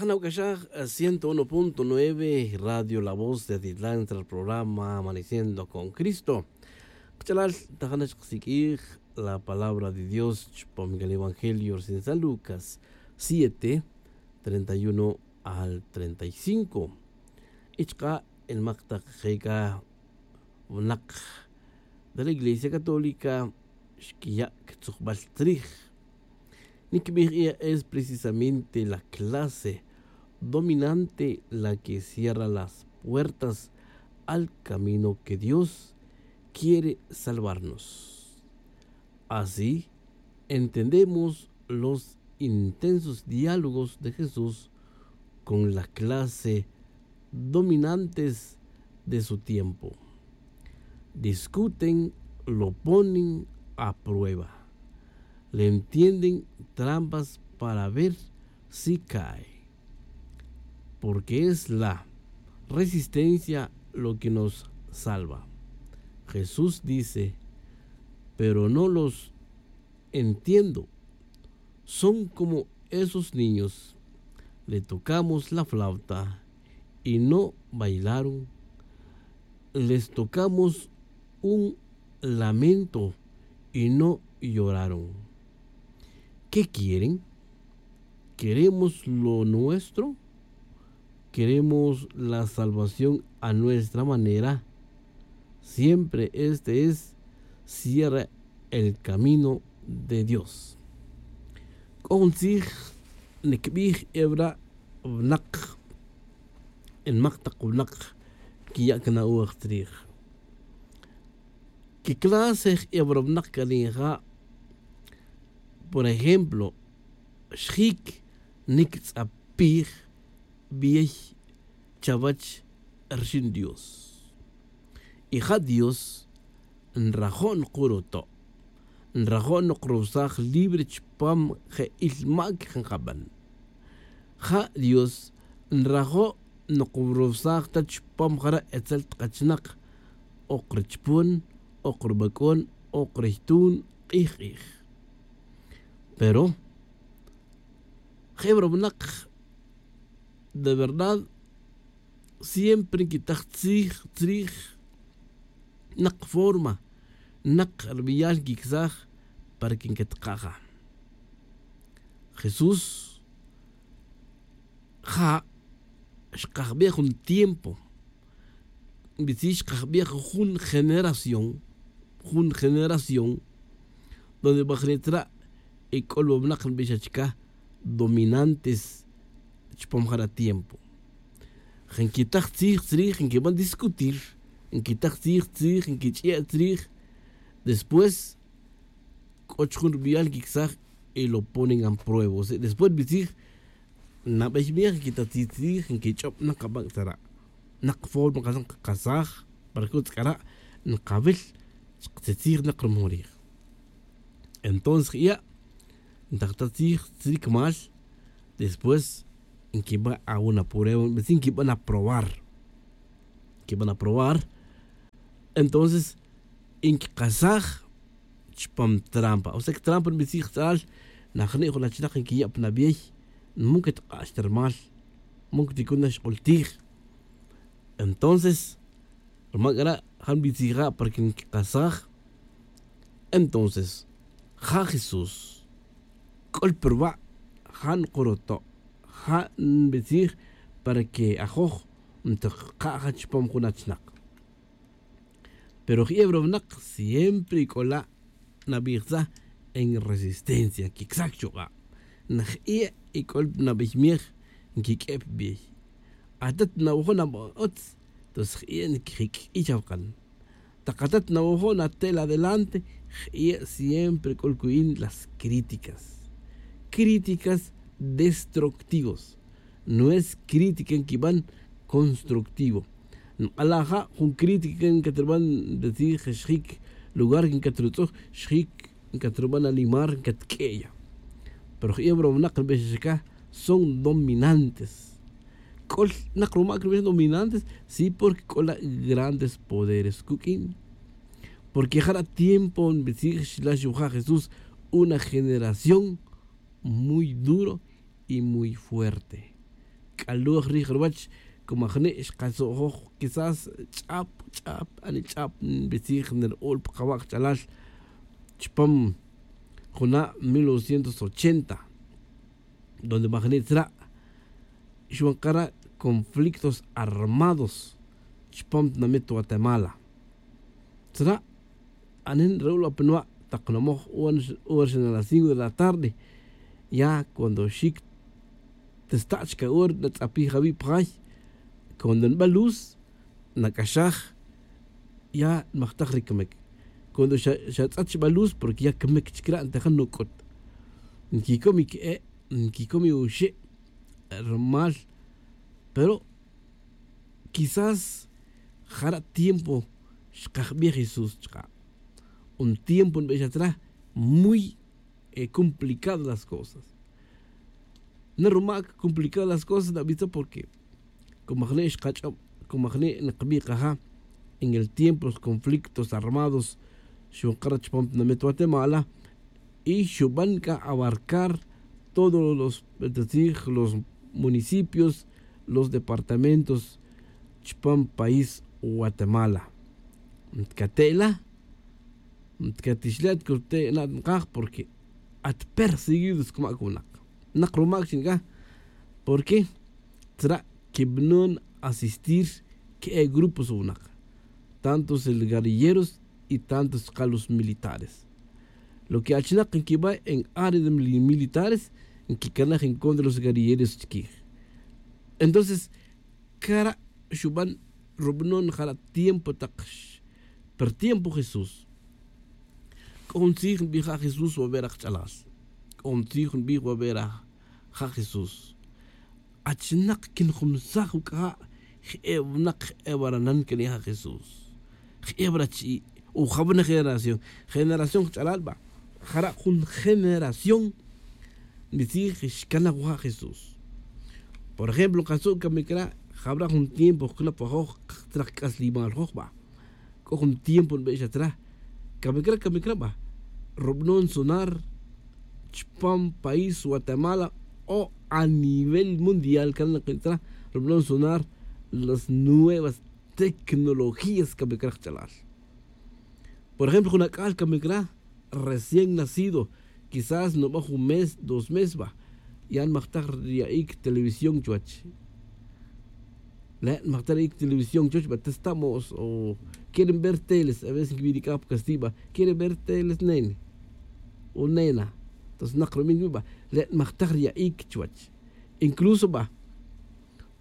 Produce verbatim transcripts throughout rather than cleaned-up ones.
Nawc'axaj ciento uno punto nueve radio la voz de atitlán tzra programa amaneciendo con cristo. Kach'alal tajana xkasiq'uij la palabra de dios chupam can evangelio recién san lucas siete treinta y uno al treinta y cinco. Y chka' el mak tak jeka' winak de la iglesia católica xquiya' quitzujbal tzrij. Nicbij ella es precisamente la clase dominante la que cierra las puertas al camino que dios quiere salvarnos. Así entendemos los intensos diálogos de jesús con la clase dominantes de su tiempo. Discuten, lo ponen a prueba, le entienden trampas para ver si cae. Porque es la resistencia lo que nos salva. Jesús dice: pero no los entiendo. Son como esos niños. Le tocamos la flauta y no bailaron. Les tocamos un lamento y no lloraron. ¿Qué quieren? ¿Queremos lo nuestro? ¿Queremos la salvación a nuestra manera? Siempre este es cierra el camino de dios. C'o jun tzij nicbij ebra winak, el mak tak winak quiya' cana'oj tzrij. Quiclase ebra winak can ija'? Por ejemplo, xjic nictz'apij bey chawech rxin dios. Y ja dios nrajo' nkuruto', nrajo' nkurowsaj libre chupam je' il mac nkaban. Ja dios nrajo' nkurowsaj ta chupam jara' etzel tkachinak, ok richpon, ok rubac'on, ok riytun, k'ij k'ij. Pero jebra winak de verdad siempre nquitaj tzij tzrij, nak forma, nak rubeyal nquicsaj para que nquetkaja. Jesús ja' xkajbej jun tiempo, nbitzij xkajbej jun generación, jun generación donde bajre' tzra' y c'o lubawnak nbix achca dominantes chupam jara' tiempo. Nquitaj tzij tzrij, nquiban discutir, nquitaj tzij tzrij, nquich'e' tzrij. Después c'o chujun rubeyal nquicsaj y lo ponen a prueba. Después nbitzij nabey miej nquitaj tzij tzrij, nquich'ob nak abac' tzara', nak forma nkasaj nkakasaj para que utz c'ara' nkawil chkatzitzij nak rumojon rij. Entonces je'ya' ntajta tzij tzric mal. Después nquiban awun aprueba, nquiban aprobar, nquiban aprobar. Entonces nquikasaj chupam trampa. O sea que trampa nbitzij tz'alal najni' jun achinak nquiya' pa nabey, nmuk tik'ax ta rumal, nmuk ticuna xk'ultij. Entonces ruma c'ara' ja nbitzija' para que nquikasaj. Entonces ja jesús c'ul pa ruba' ja nkuruto', ja nbitzij para que ajoj ntuka' ja chupam jun achinak. Pero je'e wara winak siempre c'o la' nabij tzaj en resistencia nquicsaj chuk'a'. Je'e' y c'o nabey miej nquiq'ue' pa bey. Atat nawajo' naba utz, entonces je'e' nquijic'i' chawak'an. Tak atat nawajo' natel adelante je'e' siempre c'o lcuyin las críticas, críticas destructivas. No es crítica nquiban constructivo. Nk'ala' ja' jun crítica ncatriban nbetzij xjic lugar ncatritz'uj xjic ncatriban alimar ncatq'ue' ya. Pero je'e wara winak nbex chacaj son dominantes. C'o nak rumac nbex dominantes sí porque c'o la' grandes poderes cuq'uin. Porque jara' tiempo nbetzij xlax yuja' jesús una generación muy duro y muy fuerte. aloj rij ruwach, como ajni' xkatzo'joj quizás ch'ap ch'ap ani ch'ap nbitzij nira'ul pa qawa' qach'alal chpam juna' mil novecientos ochenta, donde majni' tzra' xwan qara' conflictos armados chpam tinamit Guatemala. Tzra' anen ra'ul apinwa' taq namoj hora xana las cinco de la tarde, ya cuando xic tista' chica hora natz'apij awi' pa jay. Cuando nba luz nac'axaj, ya nmajtaj ri camic. Cuando xa xa tz'at xba luz porque ya camic chic ra' ntejan nuc'ut, nquicom i que'e', nquicom i oxe'. Rumal pero quizás jara' tiempo xkajbij Jesús chka'. Un tiempo nbix atrás muy complicado las cosas. Na rumac complicado las cosas nabitza porque como ajni' xkach'ob, como ajni' nkabij kaja en el tiempo los conflictos armados xunqara' chupam tinamit Guatemala, y xuban c'a abarcar todos los, los municipios, los departamentos chupam país Guatemala. Ntcate'la, ntcatixle' atcurte' na' nkaj porque at perseguidos cuma' cunak. Nak rumac chi ncaj porque tzra' quibanon asistir que'e grupos wunak, tantos el guerrilleros y tantos chka los militares. Lo que achinak nquiba' en área de militares nquicanaj en contra de los guerrilleros chiquij. Entonces cara' xuban rubanon jara' tiempo tak per tiempo Jesús. C'o jun tzij nbij ja Jesús wabe' raj ch'alal. C'o jun tzij nbij wabe' raj ja Jesús. Achinak quinjumsaj uc'aja' je'e winak je'e waranan quenija' Jesús. Je'e warachi'i' o jawina generación, generación jch'alal ba. Jara' jun generación nbitzij xcanaj wa ja Jesús. Por ejemplo katzu' camic ra' jawra jun tiempo jcnap wajoj. Tzrak c'aslimal joj ba. C'o jun tiempo nbix atrás camic ra camic ra ba rubanon sonar chupam país Guatemala o a nivel mundial cana nkin tzra' rubanon sonar las nuevas tecnologías camic ra jch'alal. Por ejemplo jun ac'al camic ra recién nacido quizás nuba' jun mes dos mes ba ya nmajtaj riya'ic televisión chuwech. Le' nmajtaj riya'ic televisión chuwech ba testamos o quieren ver teles a veces nquibi' nic'aj pa casti' ba quieren ver teles nene o nena. Entonces nak rumin wi' ba le' nmajtaj riya'ic chuwech. Incluso ba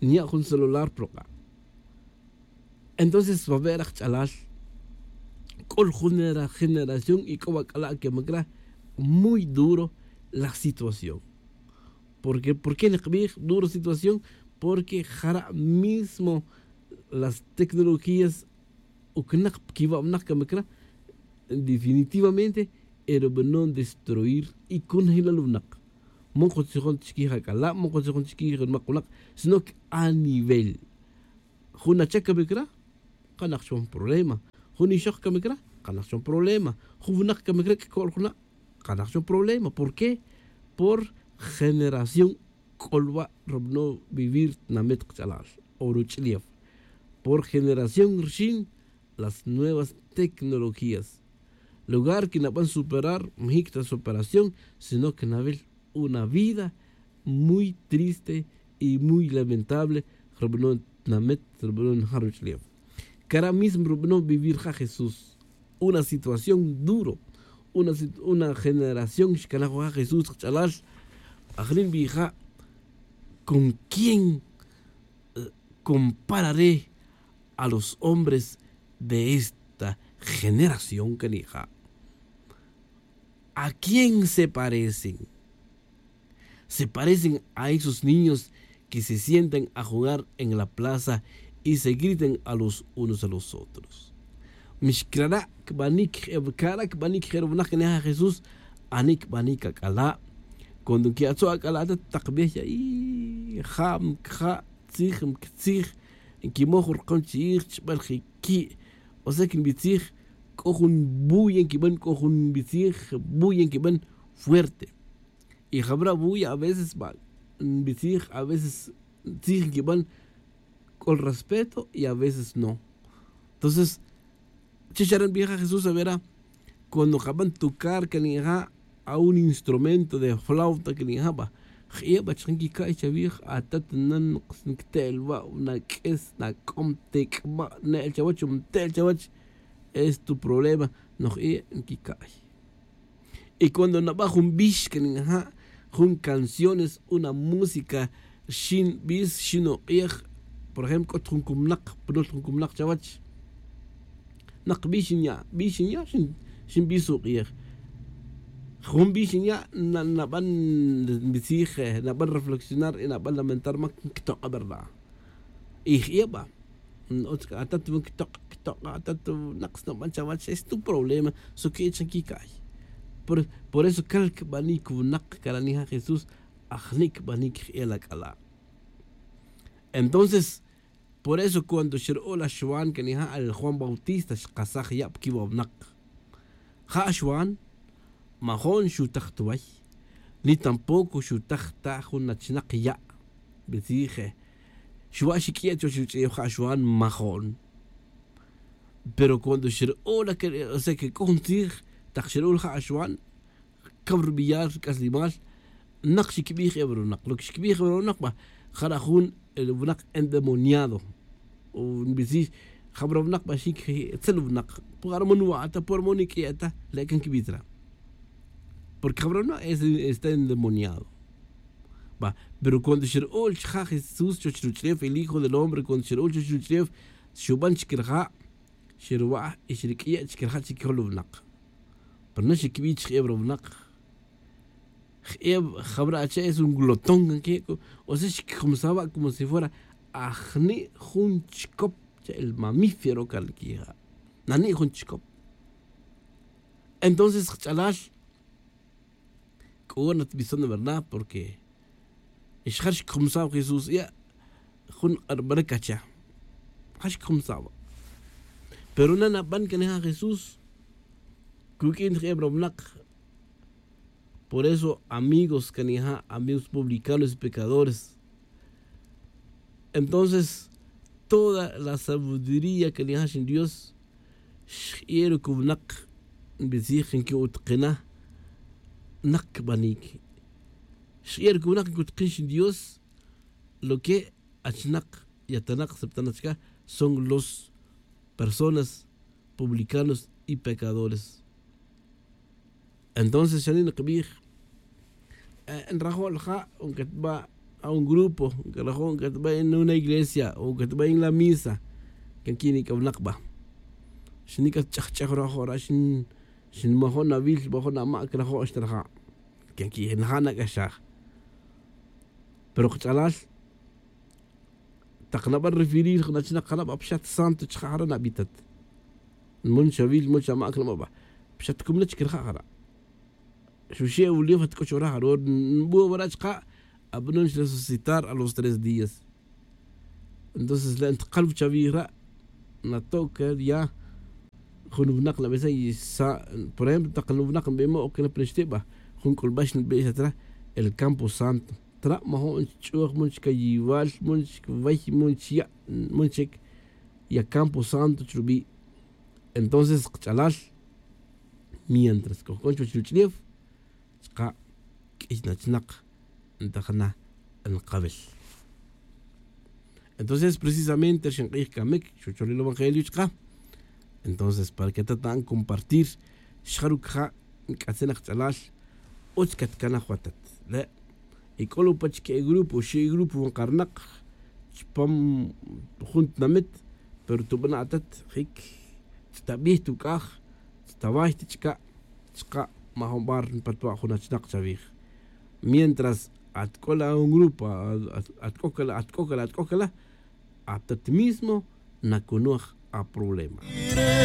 nya' jun celular pa ruk'a'. Entonces wabe' raj ch'alal c'o ri jun generación y c'o wa c'ala' que macra muy duro la situación. Porque por qué nikbij duro situación? Porque jara' mismo las tecnologías ucnak pa quiwa' winak que macra definitivamente e rubanon destruir y conjelal winak. Mon kutzijon chiquij ac'ala' mon kutzijon chiquij ri mak winak, sino que a nivel jun acha camic ra kanak chupam problema. Jun ixok camic ra kanak chupam problema. Jun winak camic ra c'acol juna' kanak chupam problema. Por qué? Por generación c'o ruba' rubanon vivir tinamit kach'alal o ruch'ulef. Por generación rixin las nuevas tecnologías. Lugar que naban superar majic ta superación sino que nawil una vida muy triste y muy lamentable. Rubanon tinamit rubanon ja ruch'ulef cara' mismo rubanon vivir ja jesús. Una situación duro una generación xcanaj wa ja jesús kach'alal. Ajri' nbij ja con quién compararé a los hombres de esta generación que nija'? ¿A quién se parecen? Se parecen a esos niños que se sientan a jugar en la plaza y se gritan a los unos a los otros. Mixcrara' cbanic je'e cara' cbanic je'e ri winak que nija' jesús. Ani cbanic ac'ala'? Cuando nqui'atzu' ac'ala' ta tak bih ya'i ja' mcaja' tzij mctzij nquimoj rukon chi'ij chbal je qui'. O sea que nbitzij c'o jun buya nquiban c'o jun nbitzij buya nquiban fuerte. Y jabra' buya a veces ba nbitzij a veces tzij nquiban c'o respeto y a veces no. Entonces, che xare' nbij ja jesús avera, cuando kaban tocar can ija' a un instrumento de flauta can ija' ba, j'iye' ba chka nquica'y chavij. Atat nan nquite'el wa' naq'ues naq'om tic'ba' ne'el chawach nte'el chawach. Es tu problema. Noj j'iye' nquica'y. Y cuando naba jun bix can ija' jun canciones una música xin bis xin uk'ij. Por ejemplo c'ot jun cumnak punul jun cumnak chawach, nak bix xinya' bix xinya' xinbis uk'ij. Jun bix xinya' naban nbitzij naban reflexionar y naban lamentar ma quitok'a verdad. Y j'iye' ba, atat wan quitok'a quitok'a atat wan nak snoban chawach es tu problema. Soqui'e' chan quica'y. Por eso cal cbanic winak caranija' jesús. Ajni' cbanic j'iye' la c'ala'. Entonces, por eso cuando xra'o' la xwan canija' al juan bautista xkasaj ya' pa quiwa' winak. Ja' xwan majo'n xutaj ta way, ni tampoco xutaj ta jun achnak ya'. Nbitzij xwa' xiq'uiya' chuwech ruch'eyew ja' xwan majo'n. Pero cuando xra'o' la que o sea que c'o jun tzij tak xra'o' la ja' xwan, caw rubiyal ruc'aslimal. Nak xicbij ewa runak lo que xicbij ewa runak ba, jara' jun winak endemoniado. Nbitzij jabra winak ba xic tzel winak, puarmon wa' ta puarmon iq'uiya' ta le' can quibij tzra'. Porque jabra winak está endemoniado. Ba, pero cuando xra'o' chija' jesús chuwech ruch'eyew el hijo del hombre cuando xra'o' chuwech ruch'eyew, xuban chic raja', xerwa' y xerq'uiya' chic raja' chic jol winak. Pero na xicbij chijeb ra winak. Jeb jabra' ache' es un glotón can queco. O sea xicjumsa wa' como si fuera ajni' jun chicop. Cha' el mamífero cal quija'. Nani' jun chicop. Entonces kach'alal, c'o wan natbison de verdad porque xjar xicjumsa wa' jesús ya' jun arbara' cacha'. Ja xicjumsa wa'. Pero na naban canija' jesús cuq'uin ta jeb ra winak. Por eso amigos canija' amigos publicanos y pecadores. Entonces toda la sabiduría canija' xin dios xj'iye' rucubnak. Nbitzij nqui'utkina nak cbanic. Xj'iye' rucubnak nqui'utkin xin dios. Lo que achnak y atanak septanak chca son los personas publicanos y pecadores. Entonces xani' nkbij, nrajo' la ja' o nkatba' a un grupo, nkarajo' nkatba' en una iglesia o nkatba' en la misa. Can quin ic'awnak ba xani' catch'ajch'aj rajo' ra' xin majo' nawil majo' namac rajo' xta raja'. Can quin naja' nac'axaj. Pero kach'alal tak naban referir jun achnak jara' ba pxat santo chija' jara' nabitat. Mon xawil mon xamac naba' ba pxat cumna chic raja' jara'. Xuxe' wulef at c'o chora jara' nbu' wara' chika' abanon xresucitar a los tres días. Entonces le' ntkal wachawij ra' nato'ca ya jun winak nabesa' y sa' por ejemplo tak jun winak nbemo' oc na pa nixti' ba jun c'ulbax nbixat ra el campo santo. Tra' majo'n chch'uj mon chcayiwal mon chcway mon chya' mon chic ya campo santo chrubi'. Entonces kach'alal mientras cojcon chuwech ruch'ulef chka' q'uiy nachnak ntajna nkawil. Entonces precisamente ri xink'ij camic xuchol ri evangelio chka'. Entonces para que tata'an compartir xjaruc ja' nc'atzin aj ch'alal utz catcanaj watat le'. Y c'o lo' pach que'e grupo xi' grupo wan karnak chpam jun tinamit pero tubana' atat jic tztabij tuc'aj tztaway ta chka'. Chka' majun bar npatwa' jun achnak chawij. Mientras at c'o la un grupo at c'o cala at c'o cala at c'o cala atat mismo nacunuj aproblema.